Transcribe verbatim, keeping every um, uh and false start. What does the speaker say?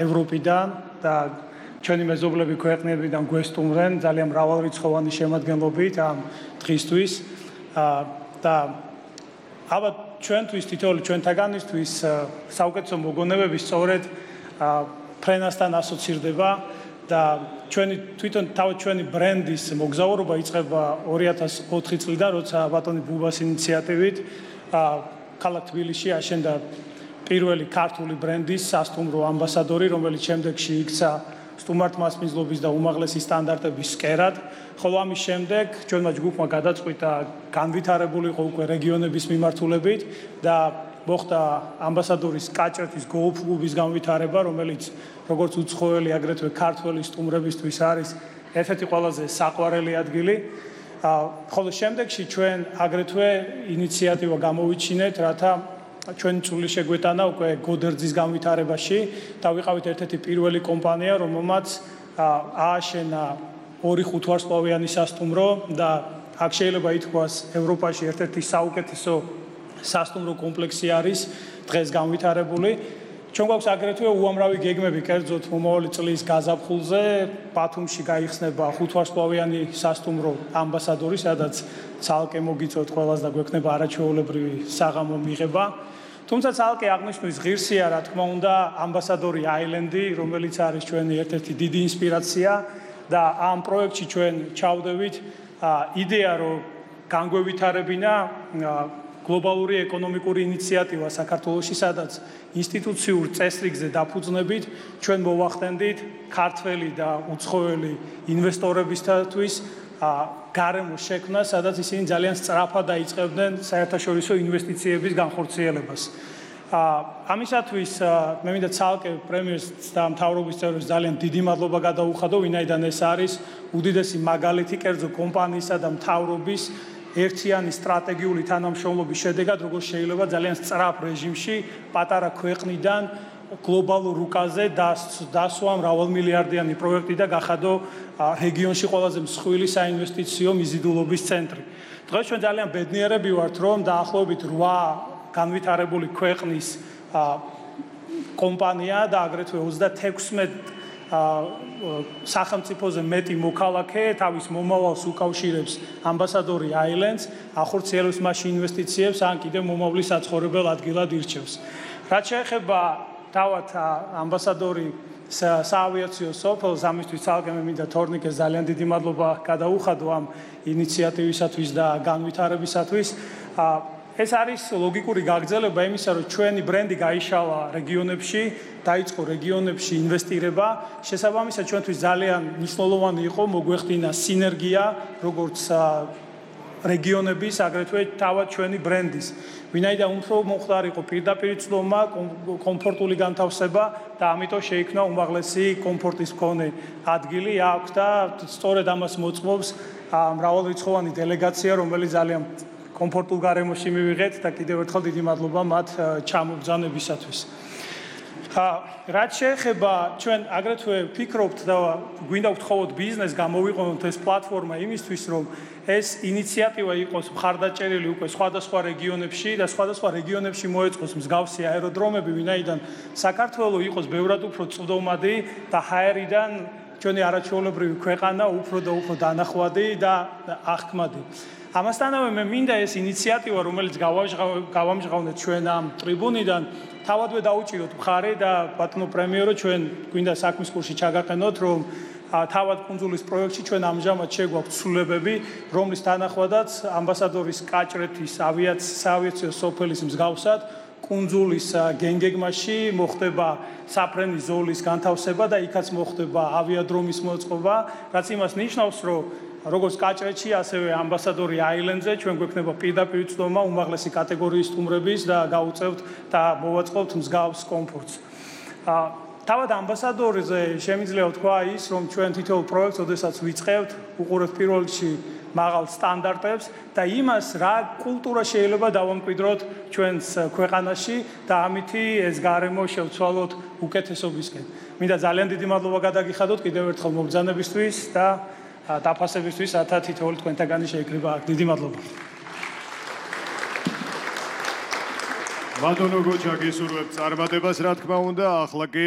ევროპიდან და ჩვენი მეზობლები ქვეყნებიდან გვესტუმრენ ძალიან მრავალრიცხოვანი შემადგენლობით ამ დღისთვის და ალბათ ჩვენთვის თითოეული ჩვენთაგანისთვის საუკეთესო მოგონებები სწორედ ფრენასთან ასოცირდება და ჩვენი თვითონ თავად ჩვენი ბრენდის მოგზაურობა იწყება ორი ათას ოთხი წლიდან, როცა ბატონი ბუბას ინიციატივით ქალაქ თბილისში აშენდა პირველი ქართული ბრენდის სასტუმრო ამბასადორი, რომელიც შემდეგში იქცა სტუმართ მასპინძლობის და უმაღლესი სტანდარტების სკერად, ხოლო ამის შემდეგ ჩვენმა ჯგუფმა გადაწყვიტა განვითარებულიყო უკვე რეგიონების მიმართულებით და მოხდა ამბასადორის კაჭრეთის გოლფ კლუბის განვითარება, რომელიც როგორც უცხოელი, აგრეთვე ქართველი სტუმრებისთვის არის ერთ-ერთი ყველაზე საყვარელი ადგილი. ხოლო შემდეგში ჩვენ აგრეთვე ინიციატივა გამოვიჩინეთ, რათა ჩვენი წვლილი შეგვეტანა უკვე გოდერძის განვითარებაში და ვიყავით ერთ-ერთი პირველი კომპანია, რომელმაც ააშენა ორი ხუთვარსკვლავიანი სასტუმრო და აქ შეიძლება ითქვას ევროპაში ერთ-ერთი საუკეთესო სასტუმრო კომპლექსი არის დღეს განვითარებული. ჩვენ გვაქვს აგრეთვე უამრავი გეგმები კერძოდ მომავალი წლის გაზაფხულზე ბათუმში გაიხსნება ხუთვარსკვლავიანი სასტუმრო ამბასადორი, სადაც ცალკე მოგიწევთ ყველას და გვექნება არაჩვეულებრივი საღამო მიღება. თუმცა ცალკე აღნიშნვის ღირსია, რა თქმა უნდა, ამბასადორი აილენდი, რომელიც არის ჩვენი ერთ-ერთი დიდი ინსპირაცია და ამ პროექტში ჩვენ ჩავდევით იდეა, რომ განგვევითარებინა გლობალური ეკონომიკური ინიციატივა საქართველოში, სადაც ინსტიტუციურ წესრიგზე დაფუძნებით ჩვენ მოვახდენდით ქართველი და უცხოელი ინვესტორებისთვის გარემოს შექმნა, სადაც ისინი ძალიან სწრაფად დაიწყებდნენ საერთაშორისო ინვესტიციების განხორციელებას. ამისათვის მე მინდა ცალკე პრემიერს და მთავრობის წევრებს ძალიან დიდი მადლობა გადაუხადო, ვინაიდან ეს არის უდიდესი მაგალითი კერძო კომპანიისა და მთავრობის ერთიანი სტრატეგიული თანამშრომლობის შედეგად, როგორც შეიძლება ძალიან სწრაფ რეჟიმში პატარა ქვეყნიდან გლობალურ რუკაზე დასვა მრავალმილიარდიანი პროექტი და გახადო რეგიონში ყველაზე მსხვილი საინვესტიციო მიზიდულობის ცენტრი. დღეს ჩვენ ძალიან ბედნიერები ვართ, რომ დაახლოებით რვა განვითარებული ქვეყნის კომპანია და აგრეთვე ოცდათექვსმეტ სახელმწიფოზე მეტი მოქალაქე თავის მომავალს უკავშირებს ამბასადორი აილენდს, ახორციელებს მასში ინვესტიციებს, ან კიდევ მომავლის საცხოვრებელ ადგილად ირჩევს. რაც შეეხება თავად ამბასადორი საავიაციო სოფელს, ამისთვის ცალკე მე მინდა თორნიკეს ძალიან დიდი მადლობა გადაუხადო ამ ინიციატივისათვის და განვითარებისათვის. ეს არის ლოგიკური გაგრძელება იმისა, რომ ჩვენი ბრენდი გაიშალა რეგიონებში, დაიწყო რეგიონებში ინვესტირება. შესაბამისად, ჩვენთვის ძალიან მნიშვნელოვანი იყო მოგვეხდინა სინერგია, როგორც რეგიონების, აგრეთვე თავად ჩვენი ბრენდის. ვინაიდან უფრო მომხდარიყო პირდაპირ ცდომა, კომფორტული განთავსება და ამიტომ შეიქმნა უმაღლესი კომფორტის მქონე ადგილი აქვს და სწორედ ამას მოწმობს მრავალრიცხოვანი დელეგაცია, რომელიც ძალიან კომფორტულ გარემოში მივიღეთ და კიდევ ერთხელ დიდი მადლობა მათ ჩამობრძანებისათვის. რაც შეეხება ჩვენ აგრეთვე ფიქრობთ და გვინდა ვთხოვოთ ბიზნესს გამოვიყენოთ ეს პლატფორმა იმისთვის, რომ ეს ინიციატივა იყოს მხარდაჭერილი უკვე სხვადასხვა რეგიონებში და სხვადასხვა რეგიონებში მოეწყოს მსგავსი აეროდრომები, ვინაიდან საქართველოს იყოს ბევრად უფრო წვდომადი და ჰაერიდან ჩვენი არაჩვეულებრივი ქვეყანა უფრო და უფრო დანახვადი და აღქმადი. ამასთანავე მე მინდა ეს ინიციატივა, რომელიც გავამჟღავნეთ ჩვენ ამ ტრიბუნიდან, თავადვე დაუჭიროთ მხარი და ბატონო პრემიერო, ჩვენ გვინდა საქმის კურსში ჩაგაყენოთ, რომ თავად კუნძულის პროექტში ჩვენ ამჟამად შეგვაქვს ცვლილებები, რომლის თანახმადაც ამბასადორის კაჭრეთის საავიაციო სოფელის მსგავსად კუნძულის გენგეგმაში მოხდება საფრენი ზოლის განთავსება და იქაც მოხდება ავიადრომის მოწყობა, რაც იმას ნიშნავს, რომ როგორც კაჭრეთში, ასევე ამბასადორი აილენდზე ჩვენ გვექნება პირდაპირ ცდომა უმაღლესი კატეგორიის სტუმრების და გავუწევთ და მოვაწყობთ მსგავს კომფორტს. თავად ამბასადორზე შემიძლია ვთქვა ის, რომ ჩვენ თითოეულ პროექტს, ოდესაც ვიწყებთ, უყურებთ პირველ რიგში მაღალ სტანდარტებს და იმას, რა კულტურა შეიძლება დავამკვიდროთ ჩვენს ქვეყანაში და ამითი ეს გარემო შევცვალოთ უკეთესობისკენ. მინდა ძალიან დიდი მადლობა გადაგიხადოთ კიდევ ერთხელ მობრძანებისთვის და დაფასებისთვის, რათა თითოეული თქვენთაგანი შეიკრიბა. დიდი მადლობა. მადონო გოჩა გისურვებთ წარმატებას რა თქმა უნდა ახლა კი